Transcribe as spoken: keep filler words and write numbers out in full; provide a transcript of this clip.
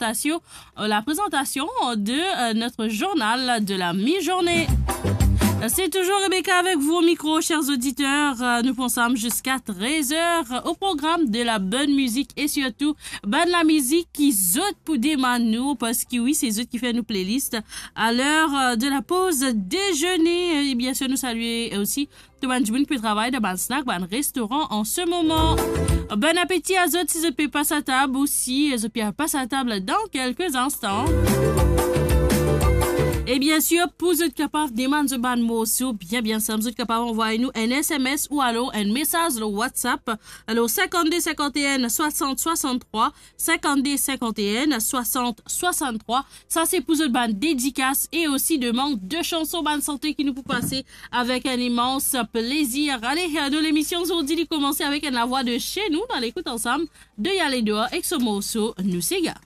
présentation, euh, la présentation de, euh, notre journal de la mi-journée. C'est toujours Rebecca avec vous au micro, chers auditeurs. Euh, nous pensons jusqu'à treize heures au programme de la bonne musique et surtout, bann lamizik ki zot pou demann nou, parski wi, se zot ki fer nou playlist. À l'heure, euh, de la pause déjeuner, euh, et bien sûr, nous saluer aussi tout bann dimoun ki pe travay dan bann snack, bann restoran an se moman. Bon apeti a zot si zot pe pas atab ou si zot pe pas atab dan kelke instan. E bien sûr, pou zot kapav demann zot bann morso bien, bien sinp, zot kapav anvoy nou enn S M S ou alor enn mesaz lor WhatsApp. Alor, cinquante-deux cinquante et un soixante soixante-trois, cinquante-deux cinquante et un soixante soixante-trois. Sa se pou zot bann dedikas e osi demann de chanson bann sante ki nou pou pase avek enn imans plezir. Ale, nou lemision zordi li komanse avek enn lavwa de chez nous. Nou al ekout ansam Deuil à l'Edouard ek so morso Nou Sega.